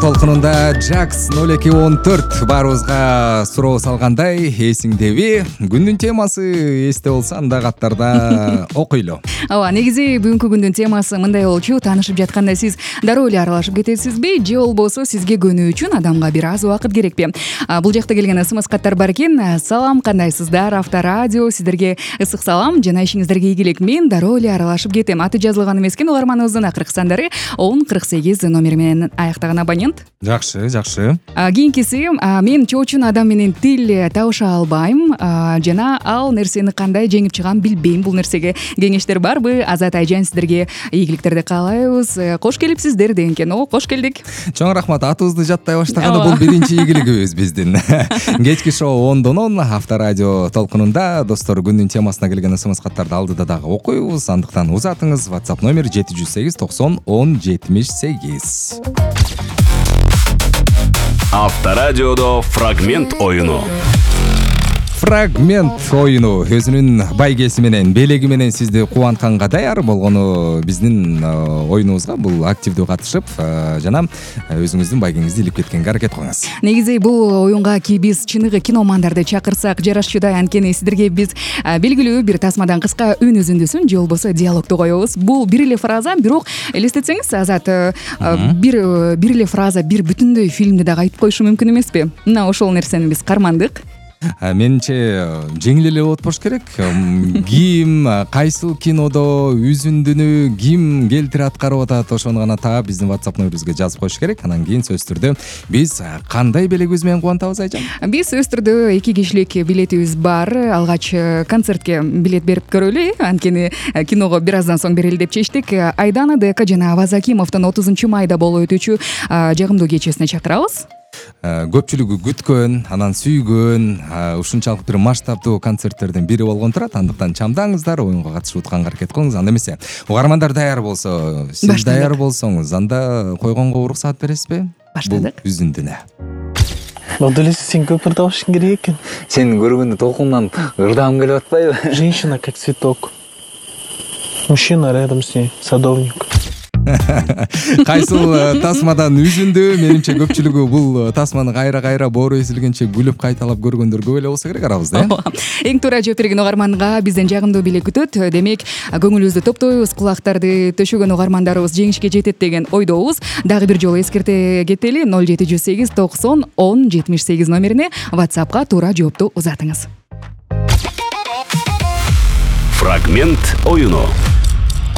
Толкунунда Jax 0214 баарыбызга суроо салгандай, эсиңдеби? Күндүн темасы эсте болсо анда каттарда окуйлу. Ооба, негизи бүгүнкү күндүн темасы мындай болчу: таанышып жатканда сиз дароо эле аралашып кетесизби, же болбосо сизге көнүү үчүн адамга бир аз убакыт керекпи? Бул жакта келген СМС каттар бар экен. Салам, кандайсыздар? Авторадио сиздерге ысык салам, жана ишиңиздерге ийгилик. Мен дароо эле аралашып кетем. Аты жазылган эмес экен угарманыбыздын акыркы сандары 1048 номери менен аяктаган абонент. Жакшы. Кийинкиси: мен чоочун адам менен тил табыша албайм, жана ал нерсени кандай жеңип чыгам билбейм. Бул нерсеге кеңештер барбы? Азат Айжан сиздерге ийгиликтерди каалайбыз. Кош келипсиздер деген экен. Кош келдик. Чоң рахмат. Атыбызды жаттай баштаганда бул биринчи ийгилигибиз биздин. Кечки шоу 10дон Авторадио толкунунда. Достор, күндүн темасына келген СМС каттарды алдыда дагы окуйбуз. Андыктан узатыңыз. WhatsApp номер 708 90 10 78. Авторадиодо фрагмент оюну. Фрагмент оюну өзүнүн байгеси менен, белеги менен сизди кубантканга даяр болгону биздин оюнубузга бул активдүү катышып, жана өзүңүздүн байгеңизди илип кеткенге аракет кылыңыз. Негизи бул оюнга биз чыныгы киномандарды чакырсак жарашчудай, анткени сиздерге биз белгилүү бир тасмадан кыска үн үзүндүсүн же болбосо диалогду коебуз. Бул бир эле фраза, бирок элестетсеңиз, Азат, бир эле фраза бир бүтүндөй фильмди дагы айтып коюшу мүмкүн эмеспи? Мына ошол нерсени биз кармандык. Менимче жеңил эле болот болуш керек. Ким кайсыл кинодо үзүндүнү ким келтирип аткарып атат, ошону гана таап биздин WhatsApp номерибизге жазып коюш керек. Анан кийин сөзсүз түрдө биз кандай белегибиз менен кубантабыз, Айжан? Биз сөзсүз түрдө 2 кишилик билетибиз бар. Алгач концертке билет берип көрөлү, анткени киного бир аздан соң берели деп чечтик. Айдана Дека жана Аваз Акимовдун 30 майда болуп өтүүчү жагымдуу кечесине чакырабыз. Көпчүлүгү күткөн, анан сүйгөн, ушунчалык бир масштабдуу концерттердин бири болгон турат. Андыктан чамдаңыздар, оюнга катышып утканга аракет кылыңыз. Анда эмесе, угармандар даяр болсо, сиз даяр болсоңуз, анда койгонго уруксаат бересизби? Баштадык. Бул үзүндүнө. Модулеси сен көпүр табышың керек экен. Сен көргөндө толкундан ырдагым келип атпайбы? Женщина как цветок. Мужчина рядом с ней садовник. Кайсыл тасмадан үзүндү? Менимче көпчүлүгү бул тасманы кайра боору эзилгенче күлүп кайталап көргөндөр көп эле болсо керек арабызда. Эң туура жооп берген угарманга бизден жагымдуу белек күтөт. Демек, көңүлүбүздү топтойбуз, кулактарды төшөгөн угармандарыбыз жеңишке жетет деген ойдобуз. Дагы бир жолу эскерте кетели: 0708 90 10 78 номерине WhatsApp'ка туура жоопту узатыңыз. Фрагмент оюну.